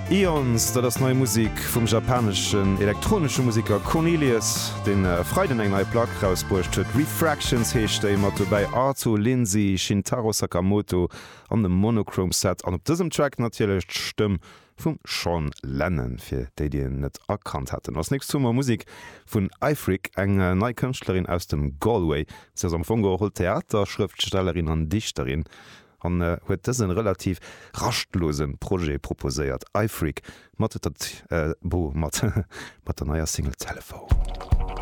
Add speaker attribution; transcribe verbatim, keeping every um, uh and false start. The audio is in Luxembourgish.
Speaker 1: Eons, dat ass nei Musek vum japaneschen elektronesche Museker Cornelius, deen e Freiden eng nei Plack rausbruecht huet. Refractions heescht déi, mat dobäi Arto Lindsay, Shintaro Sakamoto an dem Monochrome Set. An op dësem Track natierlech d'Stëmm vum Sean Lennon, fir déi, déi en net erkannt hätten. Als nächst hu mer Musek vun Aifric, eng nei Kënschtlerin aus dem Galway. Si ass am Fong geholl Theaterschrëftstellerin an Dichterin an huet dësen relativ raschtlose Projet proposéiert, Aifric mat der mat der neier Single Telephone.